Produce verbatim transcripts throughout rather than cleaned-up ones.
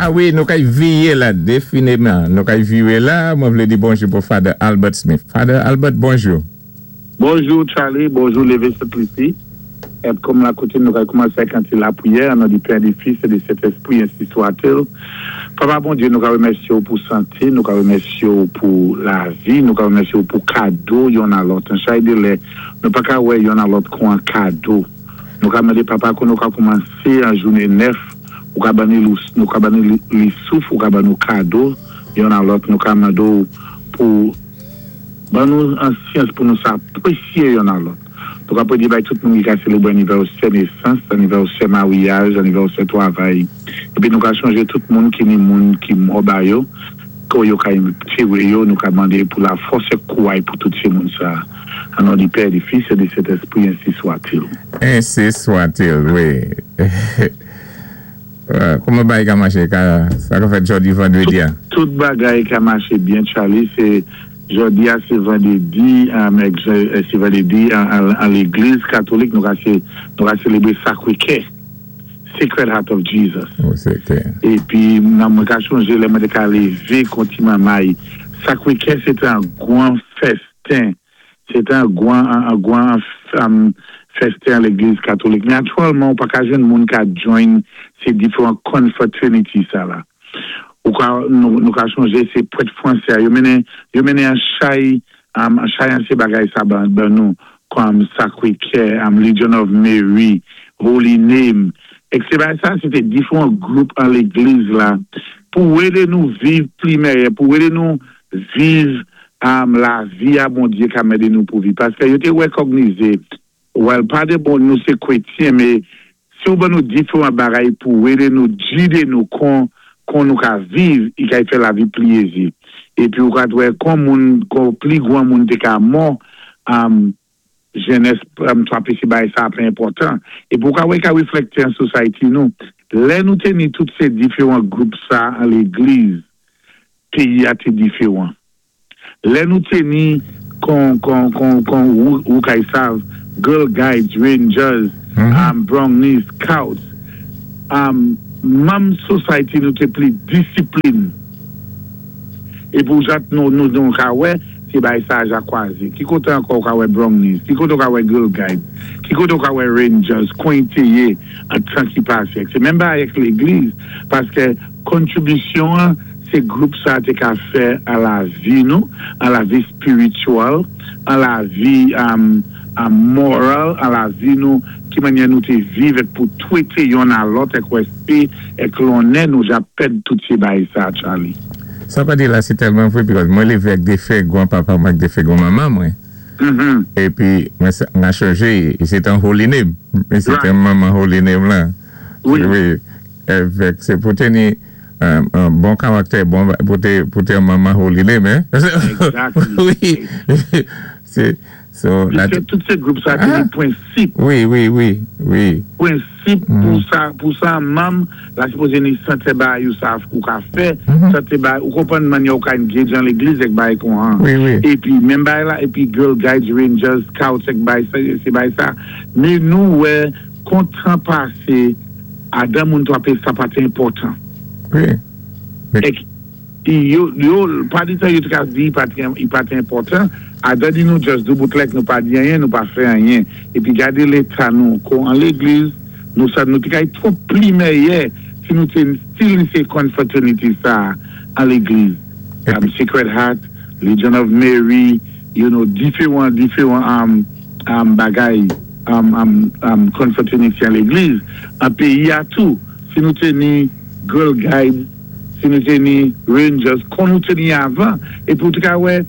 A wi, nou kay viwé la, définiman. Nou kay viwé la, mwen vlé di bonjou pou Father Albert Smith. Father Albert, bonjou. Bonjou Charlie, bonjou Lévé Saint-Lucie. É kòm la koutim, nou kay koumansé ak an ti lapwiyè, an non di Pè, di Fis é di Sentèspwi, ensi swa-t-il. Papa Bondyé, nou ka wémèsyé ou pou santé, nou ka wémèsyé ou pou lavi, nou ka wémèsyé ou pou kado youn a lòt. An chay dé lè, nou pa ka wè youn a lòt kon an kado. Nou ka mandé papa kon nou ka koumansé an jouné nèf, ou ka ban nou nou ka ban nou li souf, ou ka ban nou kado youn a lòt, nou ka mandé ou pou ban nou an syans pou nou sa apresyé youn a lòt. Nou ka pwédé bay tout moun ki ka sélébré anivèsè nésans, anivèsè maryaj, anivèsè twavay. Épi nou ka chonjé tout moun ki ni moun ki mò ba yo, kon yo ka tiwé yo, nou ka mandé pou la fòs é kouway pou tout sé moun sa. An non di Pè, di Fis é di Sentèspwi, ensi swa-t-il. Ensi swa-t-il, wi. Kouman bagay ka maché? Ka, sa ka fèt jòdi vandrédi a? Tout bagay ka maché byen, Charlie, sé jòdi a sé vandrédi, sé vandrédi an légliz katolik, nou ka sé, nou ka sélébré Sakwé Kè, Sacred Heart of Jesus. Oh, sé klè. Épi, nan mwen ka chonjé, lè mwen té ka lévé kon ti manmay. Sakwé Kè, sé an gwan festen. Sé an gwan, an gwan um, festen an légliz katolik. Mé aktyèlman, ou pa ka jwenn moun ka join sé diferan confraternity sa la. Ou ka, nou, nou ka chonjé, sé pwèt fransé, yo mennen, yo mennen an chay, um, an chay an sé bagay sa ban, ban nou, kòm Sakwé Kè, um, Legion of Mary, Holy Name, ek sé bagay sa, sé té diferan gwoup an légliz la, pou édé nou viv pli mèyè, pou édé nou viv um, lavi a Bondyé ka édé nou pou viv. Paské yo té wékognizé, well, pa dé bon nou sé kwétyen, mé si ou ban nou diferan bagay pou édé nou gidé nou kon kon nou ka viv, i ka fè lavi pli ézé. Épi ou ka wè kon moun, kon pli gwan moun té ka mò, um, jenès um, twapé sé bagay sa pli enpòtan. Épi ou ka wè ka wéflèkté an society nou. Lè nou té ni tout sé diferan gwoup sa an légliz, péyi a té diferan. Lè nou té ni kon, kon, kon, kon ou, ou kay sav, Girl Guides, Rangers, um, Brownies, Scouts, um, manm society nou té pli disiplin. É pou jat nou, nou, nou ka wè, sé bagay sa ja kwazé. Ki koté ankò ou ka wè Brownies, ki koté ou ka wè Girl Guides, ki koté ou ka wè Rangers, kon té yé an tan ki pasé. Sé menm bagay ak légliz, paské kontribisyon an, sé gwoup sa té ka fè a lavi nou, a lavi spirityèl, a lavi um, a moral, a lavi nou, ki mannyè nou té viv ek pou twété youn a lòt ek wèspé, ek lonnè nou ja pèd tout sé bagay sa, Charlie. Sa pa di la, sé tèlman vwé, because mwen lévé ak défen gwan papa mwen ak défen gwan manman mwen. Mm-hmm. Épi, mwen sa- mwen chonjé, sé an Holy Name. Mé sé Right. an manman Holy Name la. Wi. Wi. Avèk, sé pou té ni un, un bon karaktè, bon, pou té, pou té manman Holy Name, hein? Exactly. Wi. Sé, so, la, Piskè tout sé gwoup sa té Ah. ni pwensip. wi, wi, wi, wi. Pwensip pou sa, pou sa manm, la sipozé ni sèten bagay ou sa ou ka fè, sèten bagay, ou konpwann mannyè ou ka engage an légliz ek bagay kon an. Wi, wi. Épi, menm bagay la, épi Girl Guides, Rangers, Scouts ek bagay, sa, sé bagay sa. Mé nou wè, kon tan pasé, adan moun twapé sa pa té enpòtan. Wi. Mé, Ek, yo, yo, pa di sa yo te ka di, i pa té, i pa té enpòtan, adan di nou just doubout lèk, nou pa di anyen, nou pa fè anyen. Épi gadé léta nou, kon an légliz, nou sa, nou té kay twò pli mèyè, si nou té still ni sé confraternity sa an légliz. Um, Sacred Heart, Legion of Mary, you know, diferan, diferan um, um, bagay um, um, um, confraternity an légliz. An péyi a tou, si nou té ni Girl Guides, si nou té ni Rangers, kon nou té ni avan, épi ou té ka wè,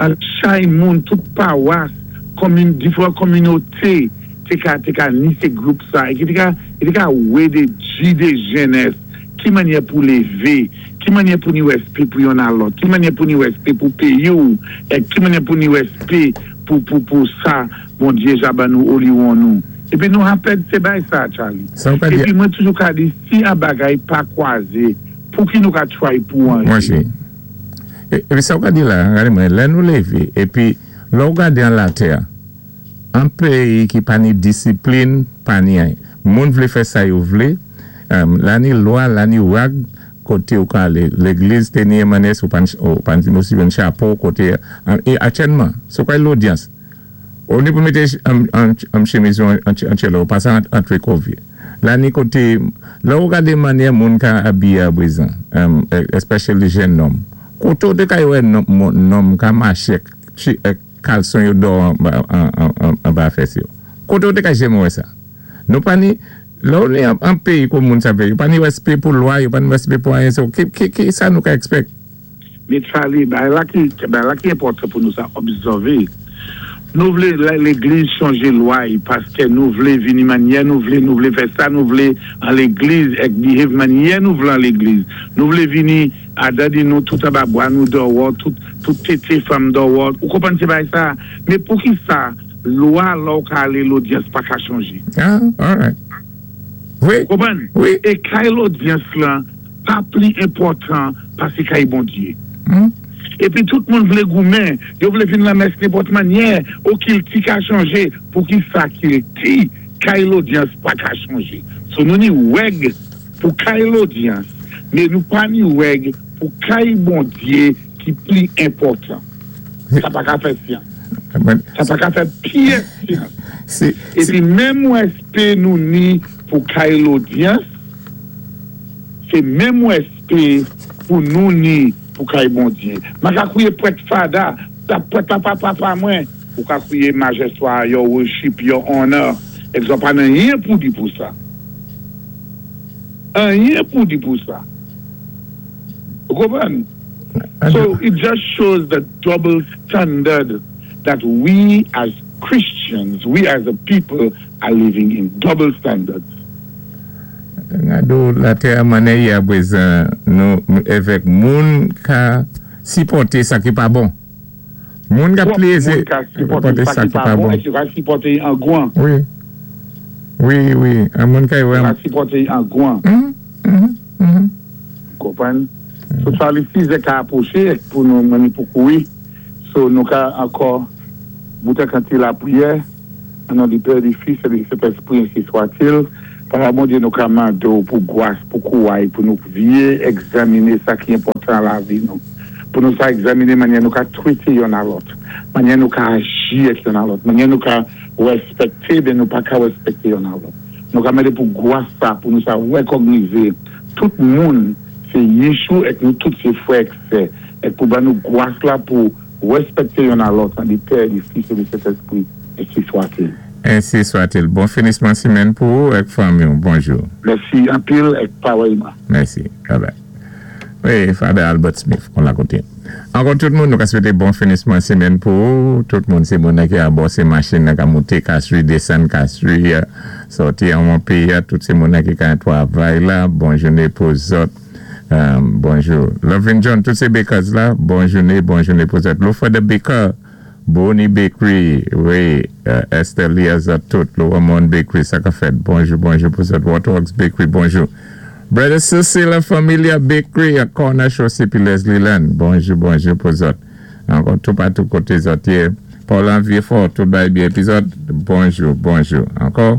an chay moun, tout pawas, komin, diferan kominoté, té ka, té ka ni sé gwoup sa, é ki té ka, é té ka wè dé gidé jenès, ki mannyè pou lévé, ki mannyè pou ni wèspé pou youn a lòt, ki mannyè pou ni wèspé pou péyi ou, é ki mannyè pou ni wèspé pou, pou, pou sa, Bondyé ja ban nou, oliwon nou. Épi nou rapèd sé bagay sa, Charlie. Sa ou ka di- Épi mwen toujou ka di, si an bagay pa kwazé, pou ki nou ka try pou an. Mwen chè. Épi sa ou ka di la, gade mwen, lè nou lévé, épi lè ou gade an latè, an péyi ki pa ni disiplin, pa ni anyen. Moun vlé fè sa yo vlé, um, la ni lwa, la ni wag, Koté ou ka alé légliz té ni mannyè ou pa ou pa ni yon chapo koté é aktyèlman sé kwa lodyans ou ni pou mété an, an, an chemiz an, an tchélo ou pa sa antré kou la ni koté la ou gadé mannyè moun ka abiyé abwézan um, especially jèn nonm koté ou té ka wè nonm ka maché kalson yo dò an, an, an, anba fès yo koté ou té ka janm wè sa nou pa ni la ou ni an péyi kon moun sa fè yo pa ni wèspé pou lwa yo pa ni wèspé pou anyen so ki, ki, ki sa nou ka expect? Mé Charlie, ben la ki, ben la ki enpòtan pou nou sa obsèvé. Nou vlé légliz chanjé lwa paské nou vlé vini mannyè, nou vlé nou vlé fè sa, nou vlé an légliz ek behave mannyè nou vlé an légliz. Nou vlé vini a dadi nou tout anba bwa nou dòwò, tout tout tété fanm dòwò. Ou konpwann sé bagay sa? Mé pou ki sa lwa la ou ka alé lodyans pa ka chanjé? Ah, all right. Wi. Konpwann? Wi. É kay lodyans lan pa pli enpòtan pasé kay Bondyé. Hmm? Épi tout moun vlé goumen, yo vlé vin la mès nenpòt mannyè, ou kilti ka chanjé, pou ki sa kilti, kay lodyans pa ka chanjé. So nou ni wèg pou kay lodyans, mé nou pa ni wèg pou kay Bondyé ki pli enpòtan. Sa pa ka fè syans. Sa pa ka fè pyès syans. Sé, Épi menm wèspé nou ni pou kay lodyans, sé menm wèspé pou nou ni pou kay Bondyé. Ma ka kwiyé pwèt fada, ta pwèt papa papa mwen, ou ka kwiyé majestwa, your worship, your honor, egzanp pa nan anyen pou di pou sa. Anyen pou di pou sa. Ou konpwann? So it just shows the double standard that we as Christians, we as a people are living in double standards. Gado latè mannyè yé abwézan nou évèk moun ka sipòté sa ki pa bon. Moun ka plézi Moun ka sipòté sa ki pa bon, é ka sipòté an gwan. Wi. Wi, wi. An moun ka wè. Ka sipòté an gwan. Mhm, mhm, mhm. Konpwann? So Charlie, sizè ka apwoché pou nou mani pou koui. So nou ka ankò boutan kanti lapriyè, an non di Père, di Fils et du Saint-Esprit, ainsi soit-il. Papa Bondyé nou ka mandé ou pou gwas, pou kouway, pou nou vyé egzaminé sa ki enpòtan lavi nou. Pou nou sa egzaminé mannyè nou ka twété yonn a lòt, mannyè nou ka aji ak yonn a lòt, mannyè nou ka wèspèkté, ben nou pa ka wèspèkté yonn a lòt. Nou ka mandé pou gwas sa, pou nou sa wèkògnizé tout moun sé Yéhoshoua ek nou tout sé frè ek sè, ek pou ban nou gwas la pou wèspèkté yonn a lòt, an di Père, di Fils et du Saint-Esprit, ainsi soit-il. Ainsi soit-il. Bon finisman simenn pou ou ek fanmi. Bonjou. Mèsi anpil ek parèyman. Mèsi. Bye bye. Wi, Father Albert Smith, kon la koté. Ankò tout moun, nou ka swété bon finisman simenn pou ou. Tout moun sé moun ki abò sé machin ka monté, ka swi, désann, ka swi, sòti an moun péyi, tout sé moun ki ka twavay la. Bon jouné pou zòt. Um, bonjou. Lovin John, tout sé bakers la. Bon jouné, bon jouné pou zòt. Lofa the Baker, Bonnie Bakery, wi, uh, Esther Liaza tout, Lower Mount Bakery, sa ka fèt. Bonjou, bonjou pou zòt. Waterworks Bakery, bonjou. Brother Cecilia Familia Bakery, a Corner Chaussée pi Leslie Land. Bonjou, bonjou pou zòt. Ankò tout patou koté zòt yé. Paul Vieux-Fort, tout bay byen pi zòt. Bonjou, bonjou. Ankò,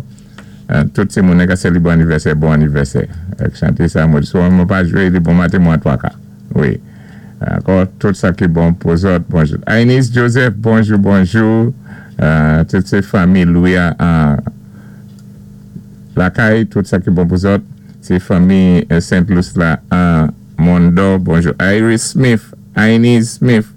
uh, tout sé moun ka sélébré anivèsè, bon anivèsè. Ek chanté sa, mwen sou mwen pa jwé, li bon maten mwen twa ka. Wi. Ankò, tout sa ki bon pou zòt, bonjou. Ainis Joseph, bonjou, bonjou. Uh, tout sé fanmi Louis a Lakay, tout sa ki bon pou zòt. Sé fanmi Saint Louis la an Mondo, bonjou. Iris Smith, Ainis Smith,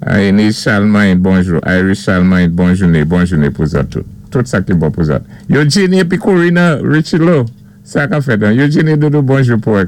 Ainis Charlemagne, bonjou. Iris Charlemagne, bonjou, bonjou pou zòt tout. Tout sa ki bon pou zòt. Eugenie epi Corina Richilo, sa ka fèt. Eugenie Doudou, bonjou pou